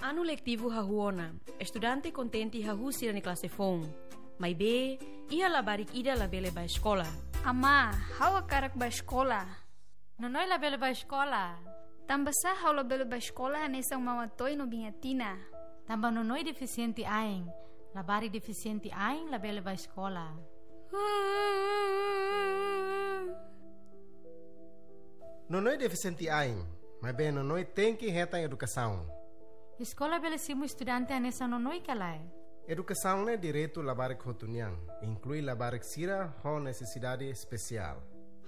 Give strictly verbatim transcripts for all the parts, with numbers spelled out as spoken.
Anu letivu hahú ona, estudante kontente hahú sira-nia klase foun. Maibé, iha labarik ida labele bá eskola. Amá, ha'u hakarak bá eskola. Nonoi labele bá eskola. Tanbasá ha'u labele bá eskola hanesan Maun Atoy no Biin Atina? Tanba Nonoi defisiente ain. Labarik defisiente ain labele bá eskola. Nonoi defisiente ain, maibé Nonoi tenke hetan edukasaun. Eskola bele simu estudante hanesan Nonoi ka lae? Edukasaun ne'e direitu labarik hotu nian, inklui labarik sira ho nesesidade espesiál.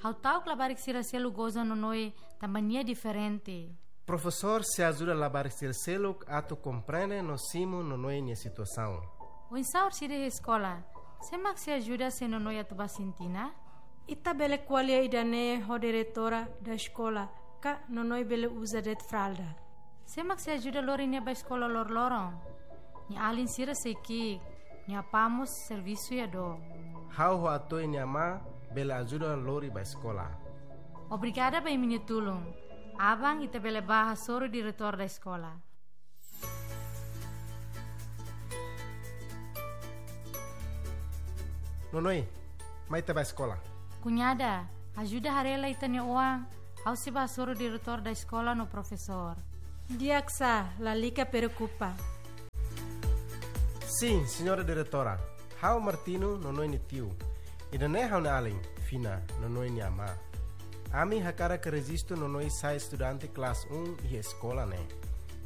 Ha'u ta'uk labarik sira seluk goza Nonoi tanba nia diferente. Profesór sei ajuda labarik sira seluk atu komprende no simu Nonoi nia situasaun. Oinsá orsida iha eskola? Sé mak sei ajuda se Nonoi atu bá sintina? Ita bele ko'alia ida-ne'e ho diretora da eskola, ka Nonoi bele uza de'it fralda. Sé mak sei ajuda lori nia bá eskola loroloron? Nia alin sira sei ki'ik, nia apá mós servisu iha dook. Ha'u ho Atoy nia amá bele ajuda lori bá eskola. Obrigada ba imi-nia tulun. Aban ita bele bá hasoru diretór da eskola. Nonoi, mai ita bá eskola. Kuñada, ajuda haree lai ita-nia oan, ha'u sei bá hasoru diretór da eskola no profesór. Di'ak sá, lalika preokupa. Sin, señora diretora. Ha'u Martino, Nonoi nia tiu. Ida-ne'e ha'u-nia alin, Fina, Nonoi nia amá. Ami hakarak rejistu Nonoi sai estudante klase um iha eskola ne'e.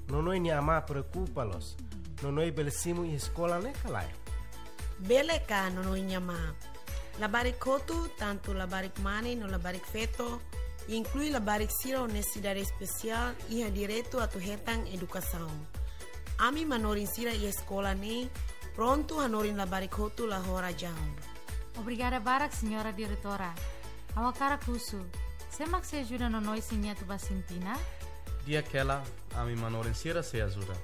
Nonoi nia amá preokupa loos. Nonoi bele simu iha eskola ne'e ka lae? Bele ka, Nonoi nia amá. Labarik hotu, tantu labarik mane no labarik feto, inklui labarik sira ho nesesidade espesiál, iha direitu atu hetan edukasaun. Ami manorin sira iha eskola ne'e prontu hanorin labarik hotu la ho razaun. Obrigada barak, señora diretora. Ha'u hakarak husu, sé mak sei ajuda Nonoi se nia atu bá sintina? Di'ak hela, ami manorin sira sei ajuda.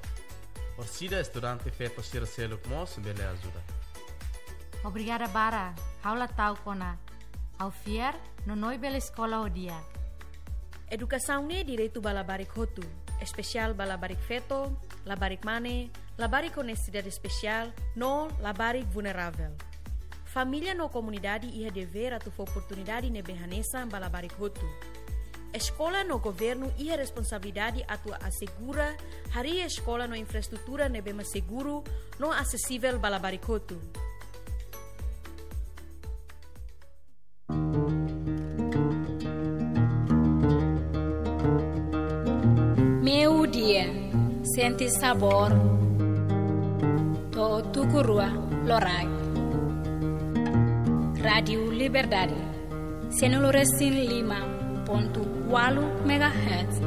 Orsida estudante feto sira seluk mós bele ajuda. Obrigada barak, ha'u la ta'uk ona. Ha'u fiar, Nonoi bele eskola ho di'ak. Edukasaun ne'e direitu ba labarik hotu, espesiál ba labarik feto, labarik mane, labarik ho nesesidade espesiál, no labarik vulneravel. Família no komunidade iha devér atu fó oportunidade ne'ebé hanesan ba labarik hotu. Eskola no governu iha responsabilidade atu asegura harii eskola no infraestrutura ne'ebé mak seguru no asesivel ba labarik hotu. Meiudia, sente sabór to'o tuku rua loraik. Rádiu Liberdade, sanulu resin lima pontu ualu megahertz.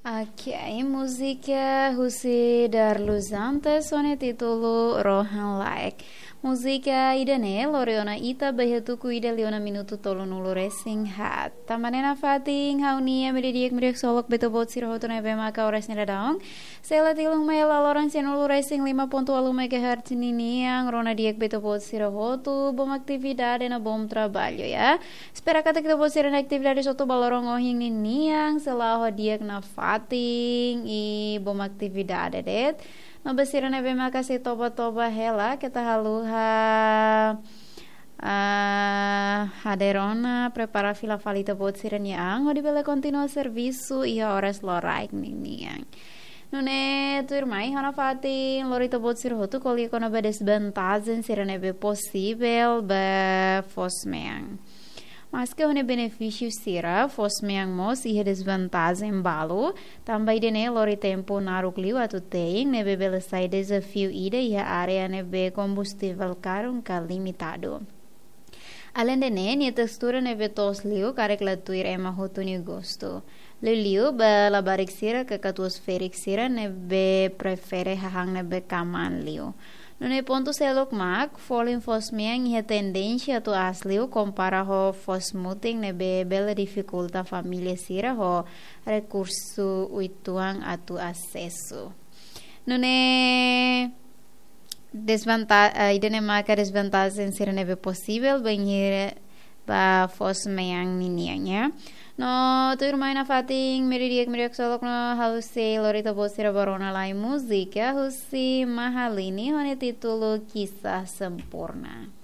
Ok, múzika husi Darlus Antes ho nia títulu Rohan Laek. Múzika ida-ne'e lori ona ita ba iha tuku ida liu ona minutu tolunulu resin haat. Tanba ne'e nafatin ha'u-nia media di'ak, media solok ba ita-boot sira hotu ne'ebé maka oras ne'e daudaun sei la tilun mai iha laloran sanulu resin lima pontu ualu megahertz ninian, rona di'ak ba ita-boot sira hotu, bom atividade no bom trabalho, ya. Espera katak ita-boot sira-nia atividade hotu ba loron ohin ninian sei la'o ho di'ak nafatin i bom atividade de'it. No ba sira ne'ebé maka sei toba-toba hela, keta haluha, ah, hadeer ona, prepara fila fali ita-boot sira-nia an, hodi bele kontinua servisu iha oras loraik ninian. Nune'e tuirmai ha'u nafatin lori ita-boot sira hotu ko'alia kona-ba desvantajen sira ne'ebé posivel ba foos-mean. Maske ho nia benefísiu sira, foos-mean mós iha desvantajen balu, tanba ida-ne'e lori tempu naruk liu atu te'in, ne'ebé bele sai dezafiu ida iha área ne'ebé kombustivel karun ka limitadu. Aleinde ne'e, nia testura ne'ebé toos liu karik la tuir ema hotu nia gostu. Liuliu ba labarik sira ka katuas-ferik sira ne'ebé prefere hahán ne'ebé kamaan liu. Nune'e pontu seluk mak, folin foos-mean iha tendénsia atu aas liu kompara ho foos mutin ne'ebé bele difikulta família sira ho rekursu uitoan atu asesu. Nune'e desvanta-, eh, ida-ne'e maka desvantajen sira ne'ebé posivel, bainhira ba fos mean ninian ya. No tuirmai nafatin meiudia meiudia ksolok no ha'u sei lori ita-boot sira ba rona lai múzika husi Mahalini ho nia títulu Kisah Sempurna.